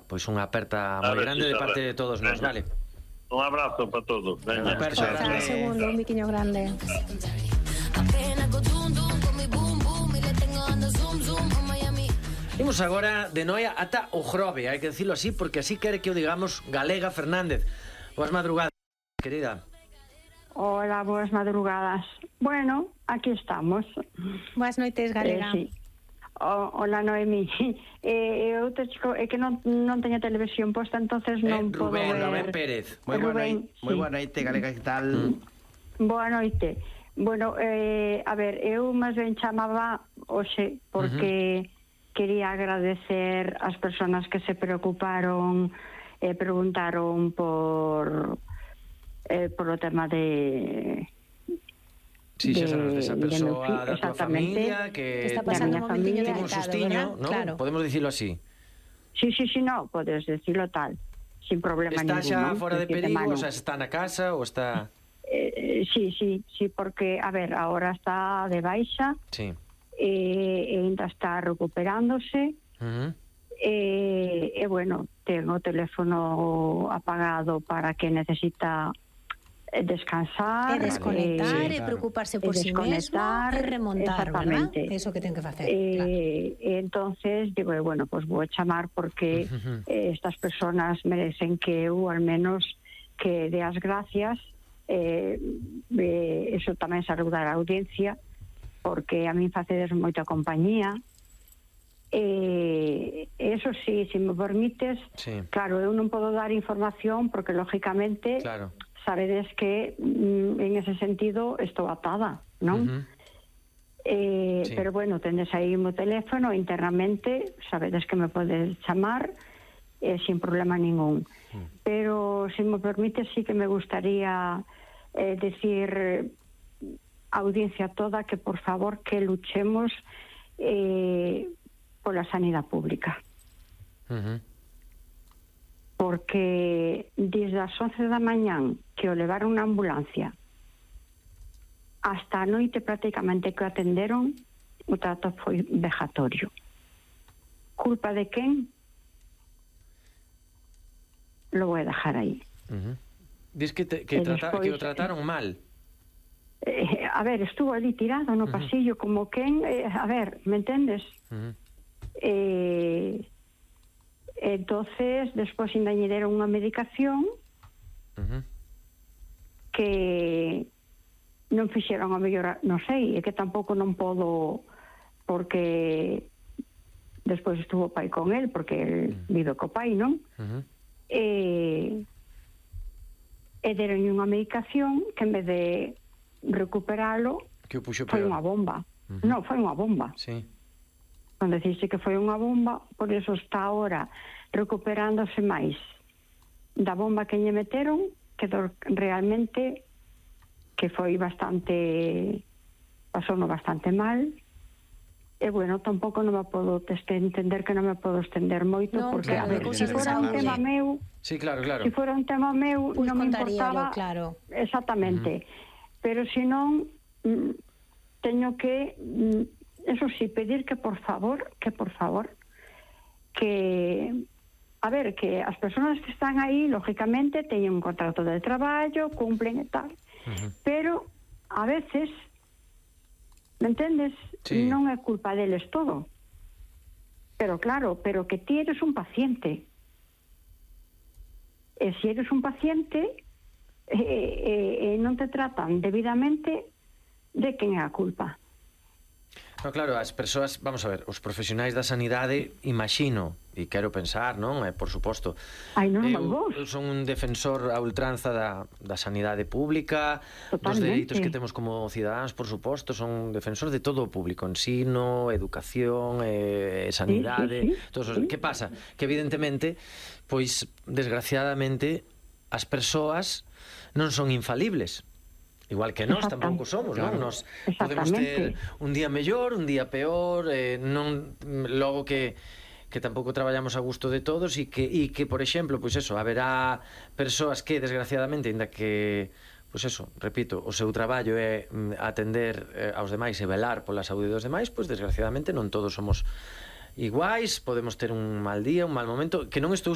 pois unha aperta moi grande de parte de todos nós, vale? Un abrazo para todos. Veña. Un segundo, un biquiño grande. Imos agora de Noia ata o Grove, hai que dicilo así, porque así quere que o digamos Galega Fernández. Boas madrugadas, querida. Hola, boas madrugadas. Bueno, aquí estamos. Boas noites, Galega. Sí. Hola, Noemí. Outro chico, é que non teño televisión posta, entonces non podo ver. Rubén Pérez. Moi boa noite, Galega, que tal? Boa noite. Bueno, a ver, eu máis ben chamaba hoxe porque quería agradecer ás persoas que se preocuparon e preguntaron por o tema de... Sí, xa sabes, desa persoa da tua familia que está pasando un momentiño ten un sustiño, ¿no? Claro. Podemos dicilo así. Sí, no, podes decirlo tal, sin problema está ningún. Está xa ¿no? fora de perigo, o sea, está na casa ou está... Sí, porque, a ver, ahora está de baixa, sí. E ainda está recuperándose, e bueno, ten o teléfono apagado para que necesita descansar, desconectar, e preocuparse por si mesmo e remontar, ¿verdad? Eso que ten que facer, claro. Entonces digo, bueno, pues vou chamar porque estas personas merecen que eu al menos que dé as gracias, eso tamén saludar a audiencia, porque a min facedes moita compañía. Eso sí, se me permites, claro, eu non podo dar información porque lógicamente sabedes que en ese sentido estou atada, non? Pero bueno, tendes aí o meu teléfono internamente, sabedes que me podes chamar sin problema ningún. Pero se me permites, sí que me gustaría decir a audiencia toda que por favor que luchemos pola sanidade pública. Porque desde as 11 da mañán que o levaron na ambulancia hasta a noite prácticamente que o atenderon, o trato foi vexatorio. Culpa de quen? Lo voy a dejar aí. Diz que o trataron mal. A ver, estuvo ali tirado no pasillo como quen, a ver, me entendes? Entonces despois ainda lle deron unha medicación que non fixeron a mellor, non sei, é que tampouco non podo, porque despois estuvo o pai con el, porque el vive co pai, non? E deron unha medicación que en vez de recuperalo foi unha bomba. Non, foi unha bomba. Sí. Cando dixiste que foi unha bomba, por eso está ahora recuperándose máis da bomba que lle meteron, que realmente que foi bastante, pasouno bastante mal. E bueno, tampouco non me podo entender que non me podo estender moito, porque a ver, se fora un tema meu, sí, claro. Se fora un tema meu, non me importaba, claro. Exactamente. Pero se non, teño que, eso sí, pedir que por favor, que a ver, que as persoas que están aí, lógicamente, teñen un contrato de traballo, cumplen e tal, pero a veces, me entendes? Sí. Non é culpa deles todo. Pero claro, pero que ti eres un paciente. E se eres un paciente e non te tratan debidamente, de quen é a culpa? No, claro, as persoas, vamos a ver, os profesionais da sanidade, imagino, e quero pensar, non? Por suposto. Eu son un defensor a ultranza da sanidade pública, dos dereitos que temos como cidadáns, por suposto, son un defensor de todo o público, ensino, educación, sanidade, todos os... Que pasa? Que evidentemente, pois, desgraciadamente, as persoas non son infalibles. Igual que nós tampouco somos, non? Nós podemos ter un día mellor, un día peor, non logo que tampouco traballamos a gusto de todos e que, por exemplo, pois eso, haberá persoas que, desgraciadamente, ainda que, pois eso, repito, o seu traballo é atender aos demais e velar pola saúde dos demais, pois desgraciadamente non todos somos iguais, podemos ter un mal día, un mal momento, que non estou